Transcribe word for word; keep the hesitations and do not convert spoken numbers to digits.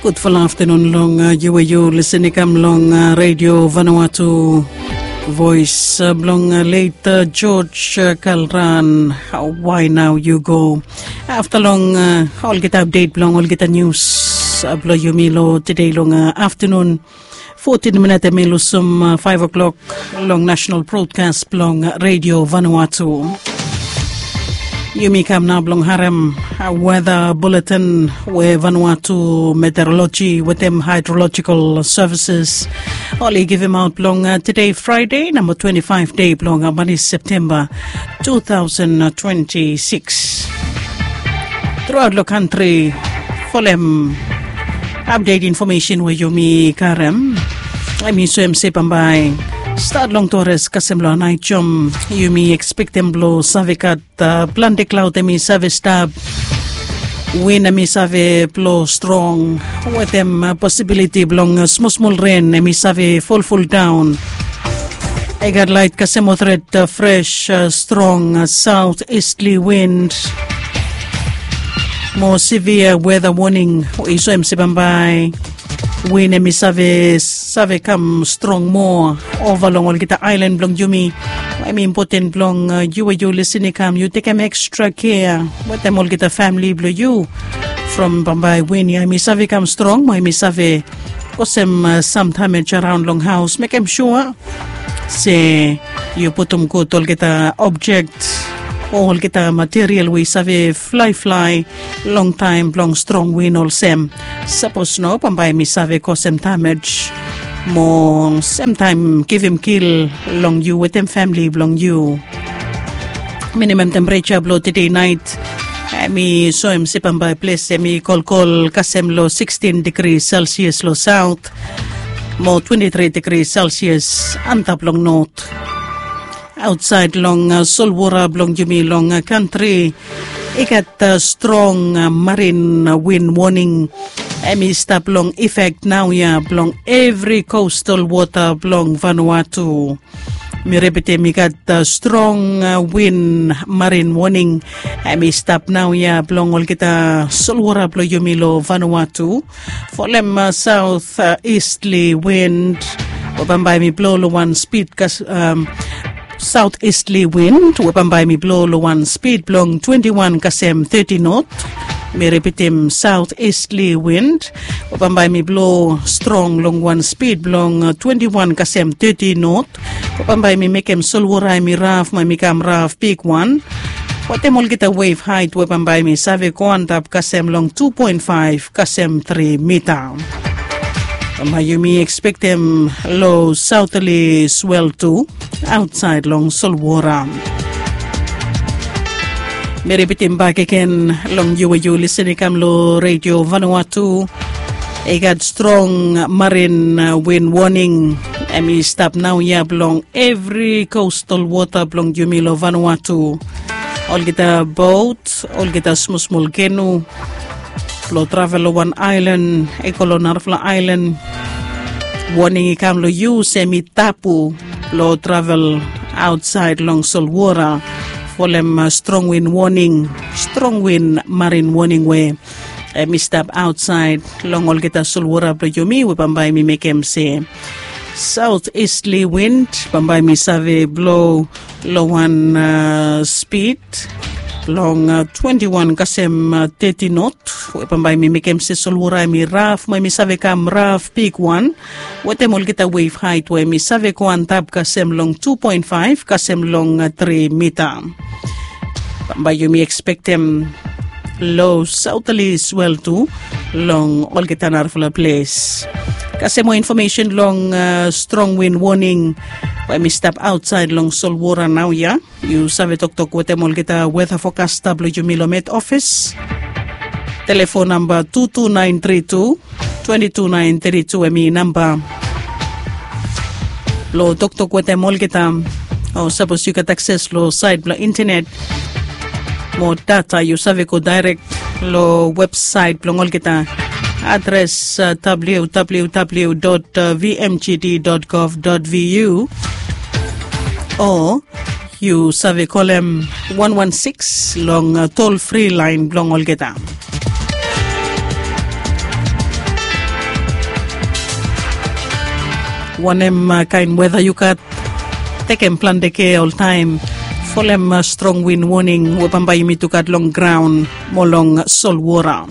Gudfala aftanun long yu we yu lisin i kam long redio Vanuatu. Voes blong let George Kalran, wai nao yu go afta long olgeta apdet blong olgeta nius blong yumi long tede long aftanun. Fotin minit em i lusum faiv o'klok long nasenal brodkas blong redio Vanuatu. Yumi kam nao blong harem weta buletin we Vanuatu meteoroloji wetem haedrolojikal sevises oli givimaot blong tede Fraede namba twenti faiv de blong mani Septemba tu taosen twenti sikis. Truaot long kantri folem apdet infomesen we yumi karem. Em i soem se bambae stat long tores kasem long naet jom yumi ekspektem blong save gat plante klaod em i save stap. Win em i save blo strong wetem posibiliti blong smosmol ren em i save folfol daon. I gat lait kasem otret fres strong saot istli wind mo sivia weta woning. I soem se bambae win em i save save kam strong moa ova long olgeta aelan blong yumi. Em i impoten blong yu we yu lisin i kam yu tekem ekstra kea wetem olgeta famili blong yu. From bambae win ya em i save kam strong mo em i save kosem sam damej araon long haos mekem sua se yu putum gud olgeta objek o olgeta material we i save flaeflae long taem blong strong win olsem. Sapos no bambae mi save kosem damej mo semtaem givim kil long yu wetem famili blong yu. Minimam tempereja blong tede naet em i soem se bambae ples em i kolkol kasem long sikstin digri selsias long saot mo twenti tri digri selsias antap long not. Aotsaed long solwora blong yumi long kantri i gat strong marin win woning. Em i stap long ifek naoia blong evri kostal wota blong Vanuatu. Mi repitim i gat strong win marin woning. Em i stap naoia blong olgeta solwora blong yumi long Vanuatu. Folem saot istli win we bambae mi blo long wan spid kas saot istli win we bambae mi blo long wan spid blong twenti wan kasem teti not. Mi ripitim saot istli win we bambae mi blo strong long wan spid blong twenti wan kasem teti not. We bambae mi mekem solwora em i raf mo em i kam raf bigwan wetem olgeta wef haet we bambae mi save go antap kasem long tu poen faef kasem tri mita. Bambae yumi ekspektem lo saotali swel tu aotsaed long solwora. Mi ripitim bak agen long yu we yu lisin i kam long redio Vanuatu. I gat strong marin win woning. Em i stap naoia blong evri kostal wota blong yumi long Vanuatu. Olgeta bot, olgeta smosmol kenu blong travel long wan aelan i go long narafala aelan. Woning i kam long yu olsem i tabu blong travel aotsaed long solwora folem strong win woning, strong win marin woning we em i stap aotsaed long olgeta solwora blong yumi we bambae mi mekem se saot istli win bambae mi save blo long wan spid blong twenti wan kasem teti not. We bambae mi mekem se solwora em i raf mo em i save kam raf bigwan wetem olgeta wef haet we em i save go antap kasem long tu poen faef kasem long tri mita. Bambae yumi ekspektem lo saotali swel tu long olgeta narafala ples. Kasem moa infomesen long strong win woning we em i stap aotsaed long solwora naoia. Yu save toktok wetem olgeta weta fokasta blong yumi long met ofis. Telefon namba tu tu naen tri tu twenti tu naen tri tu em i namba blong toktok wetem olgeta. O sapos yu gat akses long saet blong intenet mo data yu save go daerek long websaet blong olgeta. Adres www vmgd gov vu o yu save kolem wan wan sikis long tol fri laen blong olgeta. Wanem kain weda yu gat, tekem plante kea oltaem. Folem strong win woning we bambae yumi tu gat long graon mo long solwora.